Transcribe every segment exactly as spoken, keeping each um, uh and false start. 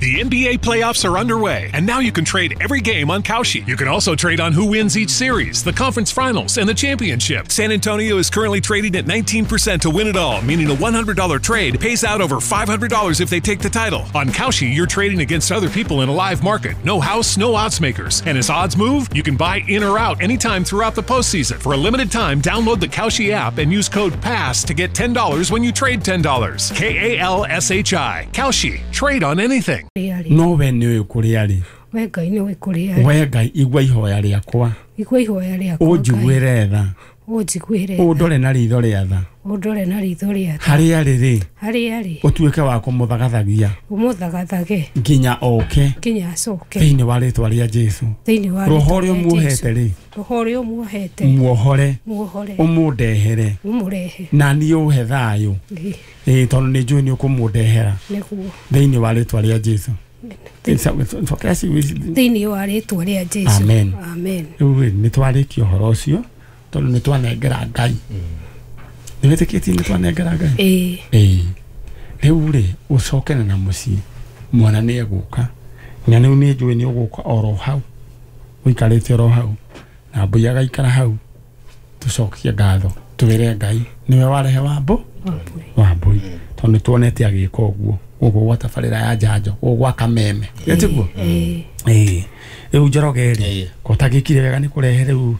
The N B A playoffs are underway, and now you can trade every game on Kalshi. You can also trade on who wins each series, the conference finals, and the championship. San Antonio is currently trading at nineteen percent to win it all, meaning a one hundred dollar trade pays out over five hundred dollars if they take the title. On Kalshi, you're trading against other people in a live market. No house, no odds makers. And as odds move, you can buy in or out anytime throughout the postseason. For a limited time, download the Kalshi app and use code PASS to get ten dollars when you trade ten dollars. K A L S H I. Kalshi. Trade on anything. No we nĩ ũĩ kũrĩa arĩ. We Ngai nĩ ũĩ kũrĩa arĩ. We Ngai igua ihoya rĩakwa. Igua ihoya rĩakwa. Ũnjiguĩre tha. Ũnjiguĩre tha. Ũndore na ritho rĩa tha. Ũndore na ritho rĩa tha. Harĩa arĩ rĩ. Harĩa arĩ. Ũtuĩke wa kũmũthagathagia. Ũmũthagathage. Nginya oke. Nginya acoke. Thĩinĩ wa rĩtwa rĩa Jesũ. Thĩinĩ wa Roho ũrĩa ũmuohete rĩ. Roho ũrĩa ũmuohete. Muohore. Muohore. Ũmũndehere. Ũmũrehe. Na niĩ ũhe thayũ. Ĩĩ tondũ nĩ njũĩ nĩ ũkũmũndehera. Nĩguo. Thĩinĩ wa rĩtwa rĩa Jesũ. Thĩinĩ wa rĩtwa rĩa Jesũ. Amen. Amen. Rĩu nĩ twarĩkia ũhoro ũcio tondũ nĩ twanengera Ngai. Nĩ wĩtĩkĩtie nĩ twanengera Ngai? Ĩĩ. Ĩĩ. Rĩu rĩ ũcokene na mũciĩ mwana nĩ egũka na rĩu nĩ njũĩ nĩ ũgũka oro hau ũikarĩte oro hau na mbũi agaikara hau tũcokie ngatho twĩre Ngai nĩwe warehe wambũ wambũi tondũ nĩ tuonete agĩka ũguo gũkũ gwa tabarĩra ya njanjo gũkũ gwa Kameme gĩtiguo. Ĩĩ. Rĩu Njoroge rĩ kotagĩkire wega nĩ kũrehe rĩu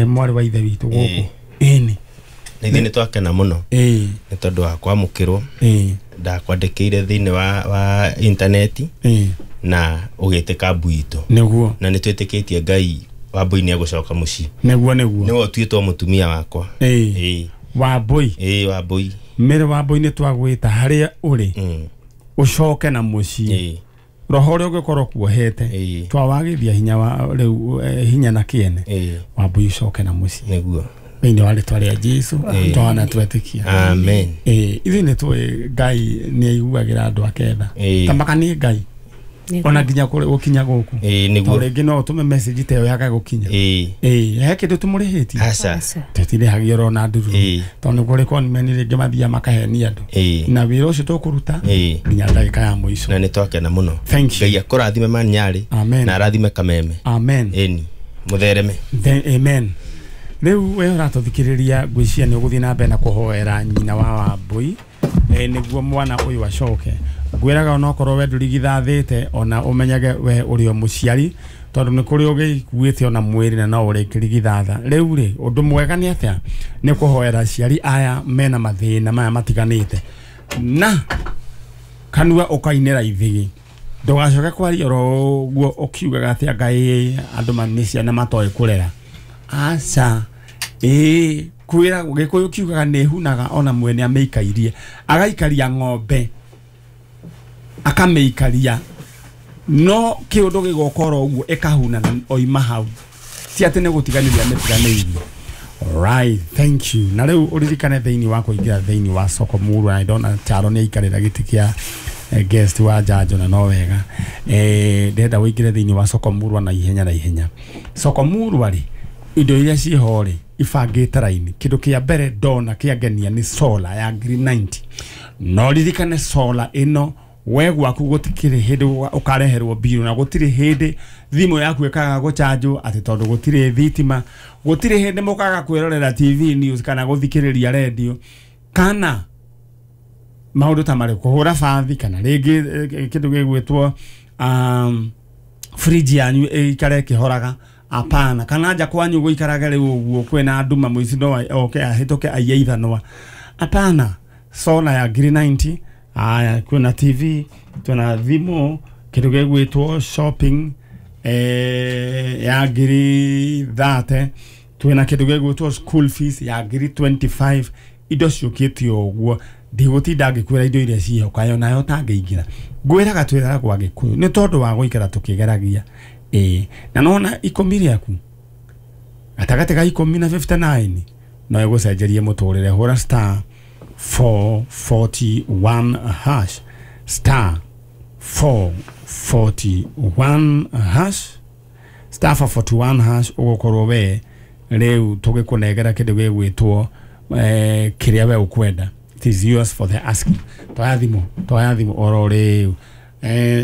mwarĩ wa ithe witũ gũkũ. Ĩni nĩ nĩ twakena mũno ĩĩ nĩ tondũ wa kwamũkĩrwo. Ĩĩ. Ndakwandĩkĩire thĩinĩ wa wa intaneti ĩĩ na ũgĩtĩka mbu itũ nĩguo na nĩ twĩtĩkĩtie Ngai Wambũi nĩ egũcoka mũciĩ. Nĩguo nĩguo nĩwe ũtuĩtwo mũtumia wakwa. Ĩĩ. Ĩĩ. Wambũi. Ĩĩ Wambũi. Mĩrĩ Wambũi nĩ twagwĩta harĩa ũrĩ ũcoke na mũciĩ. Roho ũrĩa ũngĩkorwo kuohete twawagithia hinya wa rĩu hinya na kĩene Wambũi ũcoke na mũciĩ. Nĩguo. Thĩinĩ wa rĩtwa rĩa Jesũ twana twetĩkia. Amen. Ĩĩ ithuĩ nĩ tũĩ Ngai nĩ aiguagĩra andũ ake tha. Tamaka nĩ Ngai ona nginya gũkinya gũkũ. Ĩĩ nĩguo. Tondũ rĩngĩ no ũtũme message ta ĩyo yaga gũkinya. Ĩĩ. Ĩĩ he kĩndũ tũmũrĩhĩtie. Aca. Tũtirĩhagia oro na ndururu. Tondũ nĩ kũrĩ conmen rĩngĩ mathiaga makahenia andũ. Na wĩra ũcio tũkũruta nginya ndagĩka ya mũico. Na nĩ twakena mũno. Thank you. Ngai akũrathime Manyarĩ. Amen. Na arathime Kameme. Amen. Ĩni mũthereme. Amen. Rĩu we ũratũthikĩrĩria ngwĩciria nĩ ũgũthiĩ na mbere na kũhoera nyina wa Wambũi nĩguo mwana ũyũ acoke. Ngwĩraga onokorwo we ndũrigithathĩte ona ũmenyage we ũrĩ o mũciari tondũ nĩ kũrĩ ũgĩkuĩte ona mwĩrĩ na no ũrĩkĩrigithatha. Rĩu rĩ ũndũ mwega nĩ atĩa nĩ kũhoera aciari aya mena mathĩna maya matiganĩte na kanua ũkainĩra ithigi ndũgacoke kwaria oro ũguo ũkiugaga atĩ Ngai andũ nĩ ciana matoĩ kũrera. Aca. Ĩĩ kwĩra Gĩkũyũ kiugaga nĩ hunaga ona mwene amĩikairie agaikaria ng'ombe akamĩikaria no kĩũndũ gĩgoka oro ũguo ĩkahuna na oima hau ti atĩ nĩ gũtiganĩria amĩtiganĩirie. Alright, thank you. Na rĩu ũririkane thĩinĩ wa kũingĩra thĩinĩ wa soko muru na ndona Charo nĩ aikarĩra gĩtĩ kĩa guest wa njanjo na no wega. Eh ndĩrenda ũingĩre thĩinĩ wa soko muru na ihenya na ihenya. Soko muru rĩ indo iria ciho rĩ ibangĩte raini. Kĩndũ kĩa mbere ndona kĩangenia nĩ solar ya ngiri ninety. No ririkane solar ĩno we gwaku gũtikĩrĩ hĩndĩ ũkareherwo biru na gũtirĩ hĩndĩ thimũ yaku ĩkaga gũchanjwo atĩ tondũ gũtirĩ thitima gũtirĩ hĩndĩ mũkaga kwĩrorera T V news kana gũthikĩrĩria radio kana maũndũ ta marĩ kũhũra bathi kana rĩngĩ kĩndũ gĩgwĩtwo um, fridge yanyu ĩikare ĩkĩhoraga. Apana kana nja kwanyu gũikarage rĩu ũguo kwĩna nduma mũici no oke ahĩtũke aiye ithanwa. Apana solar ya ngiri ninety. Aya kwĩna T V twĩna thimũ kĩndũ gĩgwĩtwo shopping eh, ya ngiri thirty twĩna kĩndũ gĩgwĩtwo school fees ya ngiri twenty-five. Indo ciũkĩte ũguo ndigũtinda ngĩkwĩra indo iria ciho kayo nayo tangĩingĩra ngwĩraga twĩraga gwa Gĩkũyũ nĩ tondũ wa gũikara tũkĩgeragia. Ĩĩ na nona ikũmi rĩaku gatagatĩ ga ikũmi na fifty-nine no ĩgũcenjerie mũtũrĩre. Hũra star four forty-one hash star four forty-one hash star four forty-one hash ũgũkorwo we rĩu tũgĩkũnengera kĩndũ gĩgwĩtwo eh, kĩrĩa we ũkwenda. It is yours for the asking. Toya thimũ toya thimũ oro rĩu. Eh,